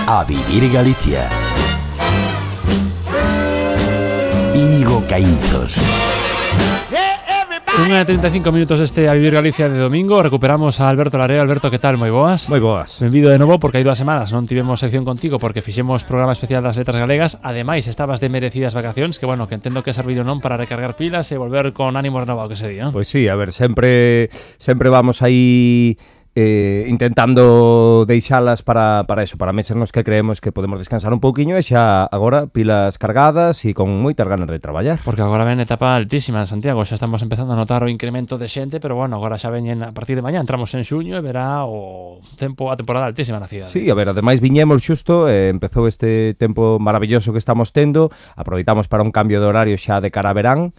A Vivir Galicia. Íñigo Caínzos. 1:35 minutos este A Vivir Galicia de domingo. Recuperamos a Alberto Lareo. Alberto, que tal? Moi boas. Moi boas. Benvido de novo, porque hai 2 semanas non tivemos sección contigo porque fixemos programa especial das letras galegas. Ademais, estabas de merecidas vacacións, que bueno, que entendo que servido non para recargar pilas e volver con ánimo renovado, que se di, non? Pois sí, a ver, sempre vamos aí intentando deixalas para eso, para meses nos que creemos que podemos descansar un pouquiño e xa agora pilas cargadas e con moitas ganas de traballar. Porque agora ven etapa altísima en Santiago, xa estamos empezando a notar o incremento de xente, pero bueno, agora xa veñen a partir de mañá, entramos en xuño e verá a temporada altísima na cidade. Sí, a ver, ademais viñemos xusto, empezou este tempo maravilloso que estamos tendo, aproveitamos para un cambio de horario xa de cara a verán,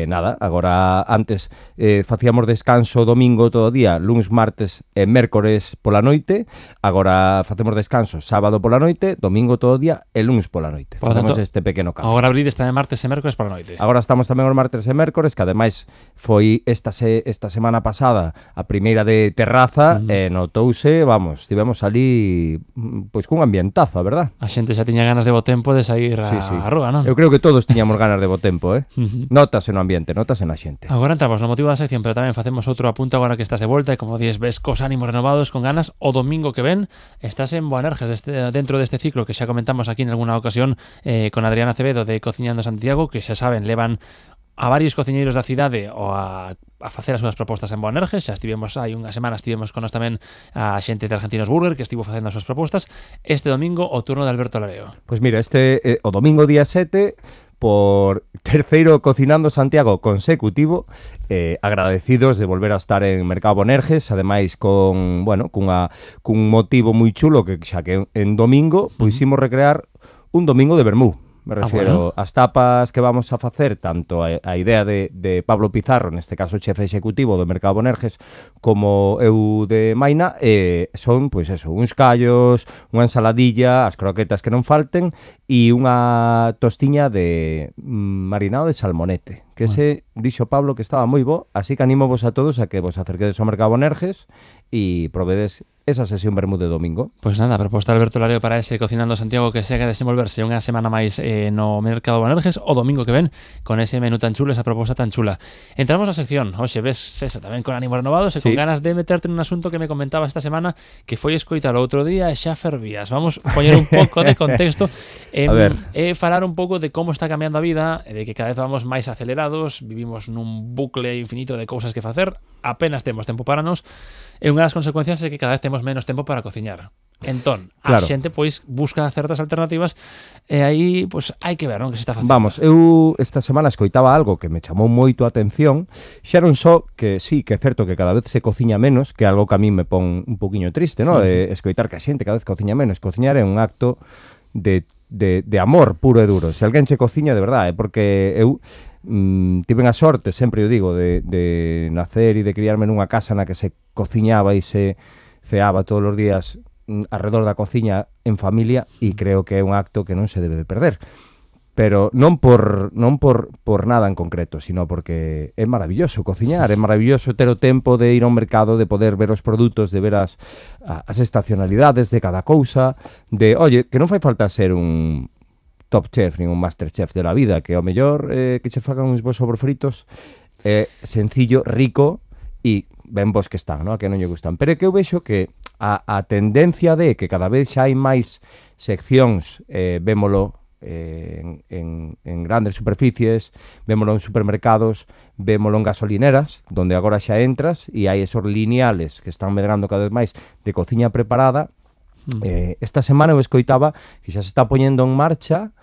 nada, agora antes facíamos descanso domingo todo o día, luns, martes e mércores pola noite, agora facemos descanso sábado pola noite, domingo todo o día e luns pola noite. Facemos este pequeno cambio. Agora abrides tamén martes e mércores pola noite. Agora estamos tamén os martes e mércores, que ademais foi esta semana pasada a primeira de terraza, e notouse, vamos, estivemos ali pois cun ambientazo, a verdad? A xente xa tiña ganas de bo tempo de sair á rúa, non? Eu creo que todos tiñamos ganas de bo tempo, Notase no ambiente, notase na xente. Agora entramos no motivo da sección, pero tamén facemos outro apunto agora que estás de volta e como dices, ves cos ánimos renovados, con ganas. O domingo que ven estás en Boanerges, dentro deste ciclo que xa comentamos aquí en alguna ocasión con Adriana Acevedo de Cociñando Santiago, que xa saben, levan a varios cociñeiros da cidade a facer as súas propostas en Boanerges. Xa estivemos hai unha semana, estivemos con nós tamén a xente de Argentinos Burger que estivo facendo as súas propostas. Este domingo o turno de Alberto Lareo. Pois mira, o domingo día 7, por terceiro Cocinando Santiago consecutivo, agradecidos de volver a estar en Mercado Boanerges, ademais cun motivo moi chulo, que xa que en domingo pois imos recrear un domingo de vermú. Me refiero as tapas que vamos a facer, tanto a idea de Pablo Pizarro, neste caso chefe executivo do Mercado Boanerges, como eu de Maina, son, pois eso, uns callos, unha ensaladilla, as croquetas que non falten, e unha tostiña de marinado de salmonete, que ese dixo Pablo que estaba moi bo, así que animo vos a todos a que vos acerquedes ao Mercado Boanerges e provedes esa sesión vermú de domingo. Pois nada, proposta de Alberto Lareo para ese Cocinando Santiago que segue a desenvolverse unha semana máis no Mercado Boanerges o domingo que ven con ese menú tan chulo, esa proposta tan chula. Entramos na sección, hoxe ves esa tamén con ánimo renovados e con ganas de meterte nun asunto que me comentaba esta semana que foi escoitar o outro día e xa fervías. Vamos a poñer un pouco de contexto e falar un pouco de como está cambiando a vida e de que cada vez vamos máis acelerados, vivimos nun bucle infinito de cousas que facer, apenas temos tempo para nos, e unha das consecuencias é que cada vez temos menos tempo para cociñar. Entón, a xente pois busca certas alternativas e aí pois hai que ver, non, que se está facendo. Vamos, eu esta semana escoitaba algo que me chamou moito a atención, xa non só que sí, que é certo que cada vez se cociña menos, que é algo que a mí me pon un poquinho triste, non? Escoitar que a xente cada vez cociña menos. Cociñar é un acto de amor puro e duro. Se alguén se cociña de verdade, porque eu tiven a sorte, sempre eu digo, de nacer e de criarme nunha casa na que se cociñaba e se ceaba todos os días alrededor da cociña en familia, e creo que é un acto que non se debe de perder, pero non por nada en concreto, sino porque é maravilloso cociñar, é maravilloso ter o tempo de ir ao mercado, de poder ver os produtos, de ver as estacionalidades de cada cousa, de, oye, que non fai falta ser un top chef, nin un master chef de la vida, que ao mellor que che fagan uns bons sobrefritos sencillo, rico e ben vos que están, non? A que non lle gustan. Pero é que eu vexo que a tendencia de que cada vez xa hai máis seccións, vémolo en grandes superficies, vémolo en supermercados, vémolo en gasolineras, donde agora xa entras e hai esos lineales que están medrando cada vez máis de cociña preparada. Esta semana eu escoitaba que xa se está poñendo en marcha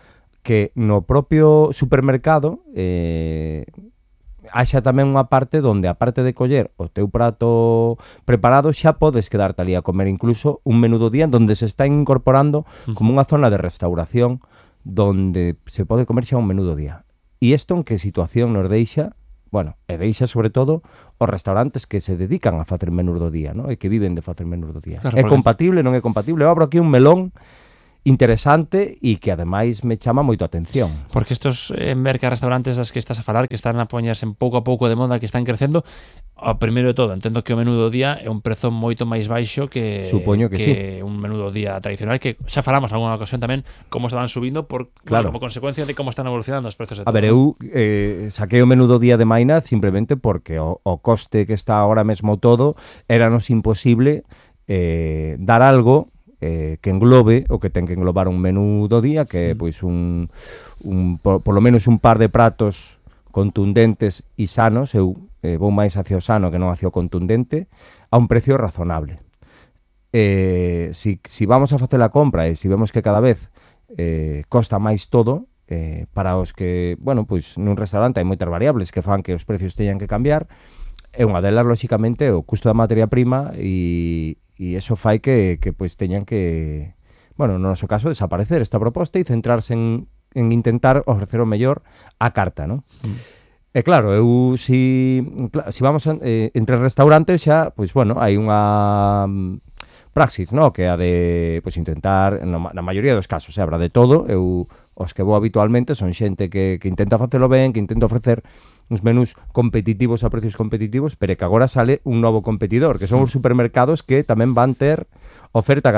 que no propio supermercado haxa tamén unha parte onde, aparte de coller o teu prato preparado, xa podes quedarte ali a comer incluso un menú do día, onde se está incorporando como unha zona de restauración donde se pode comer xa un menú do día. E isto en que situación nos deixa? Bueno, e deixa sobre todo os restaurantes que se dedican a facer menús do día, non? E que viven de facer menús do día. Claro, é compatible, non é compatible? Eu abro aquí un melón interesante e que ademais me chama moito a atención. Porque estos merca-restaurantes das que estás a falar, que están a poñerse pouco a pouco de moda, que están crecendo, ao primeiro de todo, entendo que o menú do día é un prezo moito máis baixo que sí. un menú do día tradicional, que xa falamos en alguna ocasión tamén como estaban subindo claro. como consecuencia de como están evolucionando os precios de todo. A ver, eu saquei o menú do día de Maina simplemente porque o coste que está agora mesmo todo éranos imposible dar algo que englobe o que ten que englobar un menú do día, que é pois por lo menos un par de pratos contundentes e sanos. Eu vou máis hacia o sano que non hacia o contundente, a un precio razonable. Si vamos a facer a compra e si vemos que cada vez costa máis todo, para os que, bueno, pois nun restaurante hai moitas variables que fan que os precios teñan que cambiar, e unha delas, lóxicamente, o custo da materia prima e eso fai que pois teñan que, bueno, no noso caso, desaparecer esta proposta e centrarse en intentar ofrecer o mellor á carta, non? E claro, eu si vamos entre restaurantes xa, pois bueno, hai unha praxis, no? Que a de pois intentar, na maioría dos casos, habrá de todo. Eu os que vou habitualmente son xente que intenta facelo ben, que intenta ofrecer uns menús competitivos a precios competitivos, pero que agora sale un novo competidor, que son os supermercados que tamén van ter oferta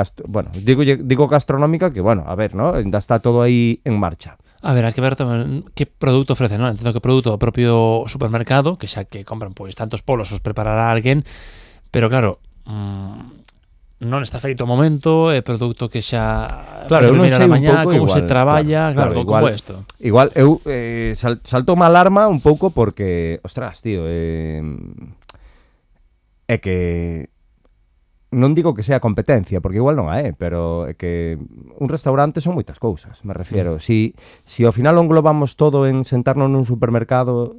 digo gastronómica, que bueno, a ver, ¿no? Ainda está todo aí en marcha. A ver, hai que ver tamén que produto ofrece, non? Entendo que produto do propio supermercado, que xa que compran pois tantos polos os preparará alguén, pero claro, non está feito o momento, é produto que xa claro, non sei a mañá, como igual, se traballa, claro, como é isto? Igual, eu saltou má alarma un pouco porque, ostras, tío, é que non digo que sea competencia, porque igual non a é, pero é que un restaurante son moitas cousas, me refiero. Si ao final o englobamos todo en sentarnos nun supermercado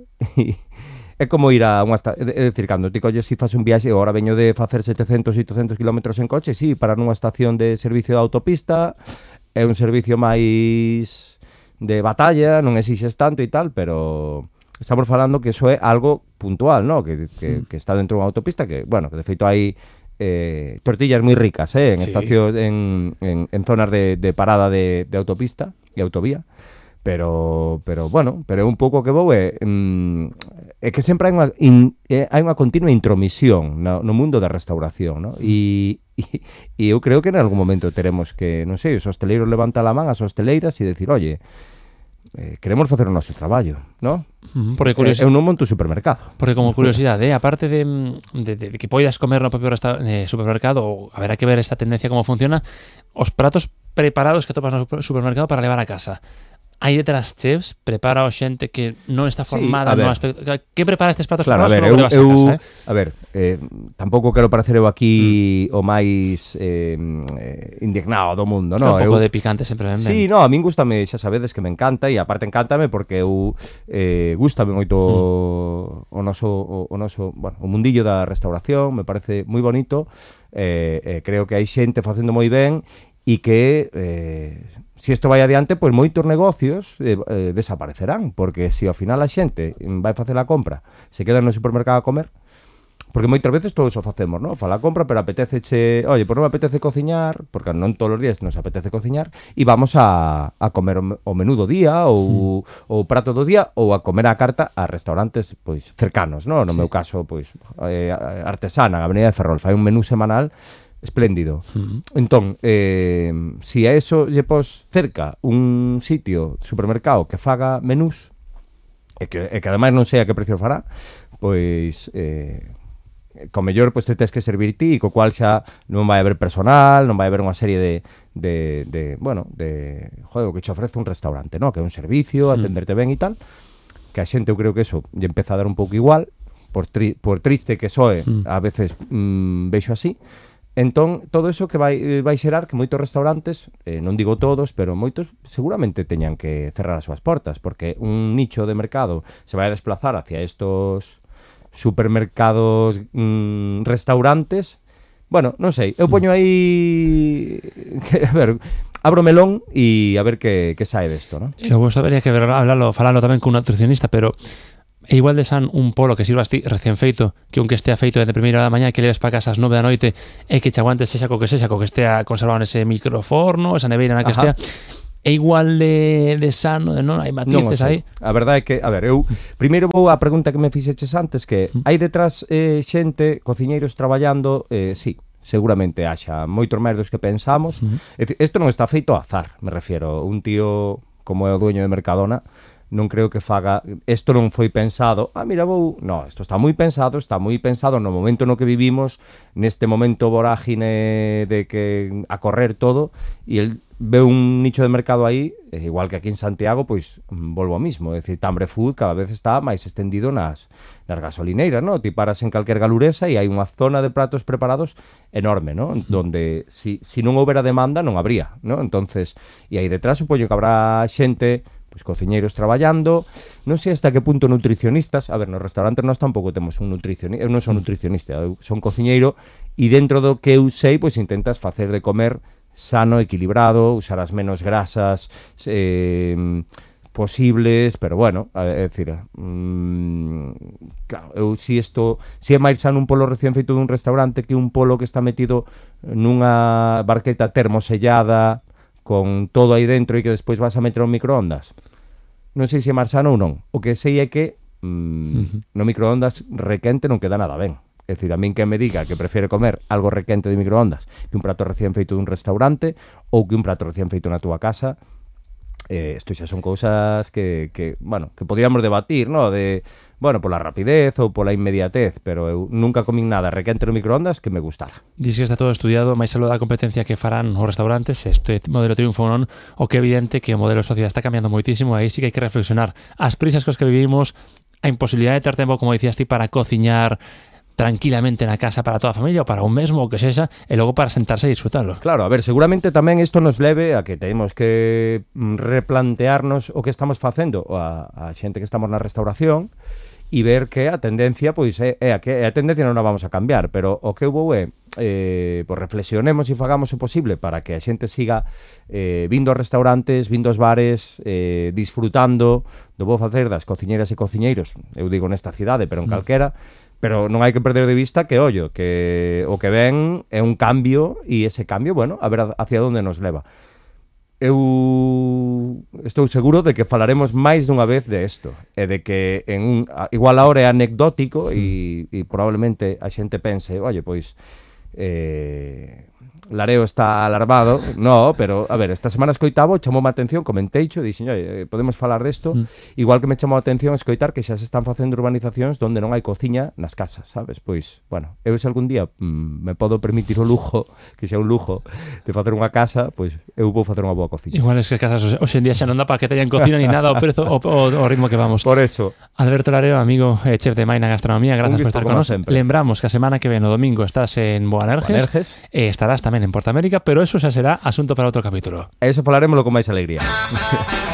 é como ir a unha estación, é dicir, cando ti colles e faz un viaxe, agora veño de facer 700 e 800 kilómetros en coche, sí, parar nunha estación de servicio de autopista, é un servicio máis de batalla, non exixes tanto e tal, pero estamos falando que eso é algo puntual, ¿no? Que está dentro dunha autopista, que, bueno, que de feito hai tortillas moi ricas, en estación, en zonas de parada de autopista e autovía. Pero bueno, pero un pouco que vou é que sempre hai unha continua intromisión no mundo da restauración, ¿no? E eu creo que en algún momento teremos que, non sei, os hosteleiros levantar a man, as hosteleiras e decir, oye, queremos facer o noso traballo, ¿no? Porque eu non monto un supermercado. Porque como curiosidade, aparte de que poidas comer no propio supermercado, haberá que ver esta tendencia como funciona, os pratos preparados que topas no supermercado para levar a casa. Hai detrás chefs, prepara o xente que non está formada no aspecto. Que prepara estes pratos preparados que non levas a casa? A ver, tampouco quero parecer eu aquí o máis indignado do mundo, non? Un pouco de picante sempre ben. Sí, non, a min gústame, xa sabedes que me encanta, e aparte encántame porque eu gústame moito o noso, bueno, o mundillo da restauración, me parece moi bonito, creo que hai xente facendo moi ben e que se isto vai adiante, pois moitos negocios desaparecerán, porque se ao final a xente vai facer a compra, se queda no supermercado a comer, porque moitas veces todos o facemos, ¿no? Fa a compra, pero apetéceche, oye, pois non me apetece cociñar, porque non todos os días nos apetece cociñar, e vamos a comer o menú do día, ou o prato do día, ou a comer a carta a restaurantes, pois, cercanos, ¿no? No meu caso, pois, Artesana, na Avenida de Ferrol, fai un menú semanal espléndido. Entón, si a eso lle pos cerca un sitio, supermercado, que faga menús, e que ademais non sei a que precio fará, pois co mellor pois te tes que servir ti, co cual xa non vai haber personal, non vai haber unha serie de o que che ofrece un restaurante, ¿no? Que é un servicio, atenderte ben e tal, que a xente eu creo que eso lle empeza a dar un pouco igual, por triste que soe, a veces vexo así. Entón, todo eso que vai xerar que moitos restaurantes, non digo todos, pero moitos seguramente teñan que cerrar as súas portas, porque un nicho de mercado se vai a desplazar hacia estos supermercados, restaurantes. Bueno, non sei, eu poño aí a ver, abro melón e a ver que sae desto, ¿no? Eu gostaría que falalo tamén cun nutricionista, pero E igual de san un polo que sirvas ti recién feito, que aunque estea feito de primeira hora da mañá, que leves para casa ás 9 da noite, e que che aguantes sexa co que estea conservado nese microforno, esa neveira na que estea, é igual de sano, non? Hai matices aí. A verdade é que, a ver, eu primeiro vou á pregunta que me fixeches antes, que hai detrás xente, cociñeiros traballando, sí, seguramente haxa moitos máis dos que pensamos. Isto non está feito ao azar, me refiero. Un tío como é o dueño de Mercadona, non creo que faga, isto non foi pensado, mira, no, isto está moi pensado no momento no que vivimos, neste momento vorágine de que a correr todo, e el ve un nicho de mercado aí, igual que aquí en Santiago, pois volvo ao mismo, é dicir, Tambre Food cada vez está máis extendido nas gasolineiras, non? Ti paras en calquer galuresa e hai unha zona de pratos preparados enorme, non? Donde si non houbera demanda non habría, non? Entonces, e aí detrás supoño que habrá xente, pois cociñeiros traballando, non sei hasta que punto nutricionistas. A ver, nos restaurantes nós tampouco temos un nutricionista, eu non son nutricionista, eu son cociñeiro, e dentro do que eu sei, pois intentas facer de comer sano, equilibrado, usar as menos grasas posibles, pero bueno, é dicir, claro, eu si é máis sano un polo recién feito dun restaurante que un polo que está metido nunha barqueta termosellada, con todo aí dentro e que despois vas a meter ao microondas. Non sei se é máis sano ou non. O que sei é que no microondas requente non queda nada ben. É dicir, a min que me diga que prefere comer algo requente de microondas que un prato recién feito dun restaurante ou que un prato recién feito na túa casa, isto xa son cousas que podíamos debatir, ¿no? De, bueno, pola rapidez ou pola inmediatez, pero eu nunca comín nada requente no microondas que me gustara. Diz que está todo estudiado, máis algo da competencia que farán os restaurantes, este modelo triunfo non, o que é evidente que o modelo de sociedade está cambiando moitísimo, aí sí que hai que reflexionar. As prisas cos que vivimos, a imposibilidade de ter tempo, como dicías ti, para cociñar tranquilamente na casa para toda a familia ou para un mesmo, o que sexa, e logo para sentarse e disfrutarlo. Claro, a ver, seguramente tamén isto nos leve a que temos que replantearnos o que estamos facendo a xente que estamos na restauración e ver que a tendencia, pois, é a tendencia non a vamos a cambiar, pero o que eu vou pois reflexionemos e fagamos o posible para que a xente siga vindo aos restaurantes, vindo aos bares, disfrutando do bo facer das cociñeiras e cociñeiros, eu digo nesta cidade, pero en calquera. Pero non hai que perder de vista que, que o que ven é un cambio e ese cambio, bueno, a ver hacia onde nos leva. Eu estou seguro de que falaremos máis dunha vez de isto e de que igual ahora é anecdótico e probablemente a xente pense, pois Lareo está alarmado, no, pero a ver, esta semana escoitaba, chamoume a atención, comenteicho, dixen, podemos falar desto, igual que me chamou a atención escoitar que xa se están facendo urbanizacións donde non hai cociña nas casas, sabes? Pois, bueno, eu se algún día me podo permitir o lujo, que xa un lujo, de facer unha casa, pois eu vou facer unha boa cociña. Igual es que casas hoxe en día xa non dá para que teñan cocina ni nada, o prezo, o ritmo que vamos. Por eso. Alberto Lareo, amigo, chef de Maina Gastronomía, gracias por estar con nos. Lembramos que a semana que ven o domingo estás en Boanerges, estarás tamén en Portamérica, pero eso xa será asunto para outro capítulo. Eso falaremoslo con máis alegría.